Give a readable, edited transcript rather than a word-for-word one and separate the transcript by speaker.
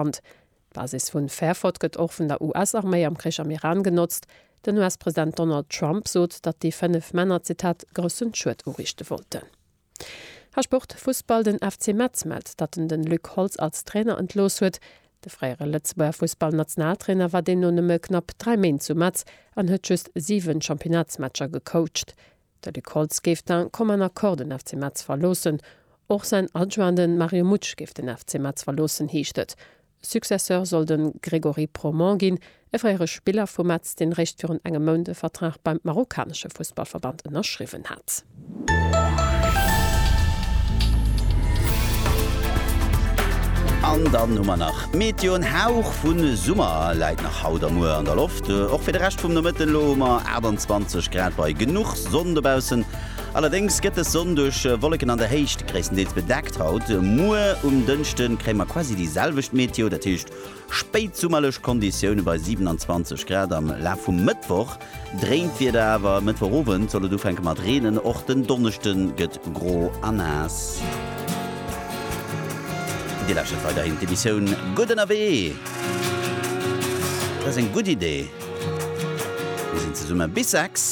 Speaker 1: Land. D'Basis vun Fairford gëtt och vun der US-Arméi am Krich am Iran genotzt. Den US-President Donald Trump sot, datt déi 5 Männer, Zitat, groussen Schued uriichte wollten. A Sport, Fussball, Den FC Metz mellt, datt en den Luc Holtz als Trainer entlooss huet. De fréiere Lëtzebuerger Fussballnationaltrainer war deemno nëmme knapp 3 Méint zu Metz an huet just 7 Championnatsmatcher gecoacht. De Luc Holtz géif d'un commun accord den FC Metz verloossen. Och säin Adjoint, de Mario Mutsch, géif den FC Metz verloossen, heescht et. Successeur soll de Grégory Promont ginn, e fréiere Spiller vu Metz, deen réischt virun engem Mount e Vertrag beim marokkanesche Fussballverband ënnerschriwwen hat.
Speaker 2: An dann hu mer nach d'Meteo, En Hauch vu Summer läit nach haut a muer an der Loft. Och fir de Rescht vum Nomëtten elo hu mer 28 Grad bei genuch Sonn dobaussen. Allerdéngs gëtt dës Sonn duerch Wolleken an der Héicht gréisstendeels bedeckt haut. Muer um Dënschde kréie mer quasi déi selwecht Meteo, dat heescht spéitsummerlech Konditioune bei 27 Grad. Am Laf vum Mëttwoch dréint d'Wieder awer, Mëttwochowend soll et ufänke mat reenen, och den Donneschde gëtt gro a naass. Dir lauschtert weiderhin d'Emissioun Gutt ënnerwee. Dat ass eng gutt Idee. Mir sinn zesumme bis 6.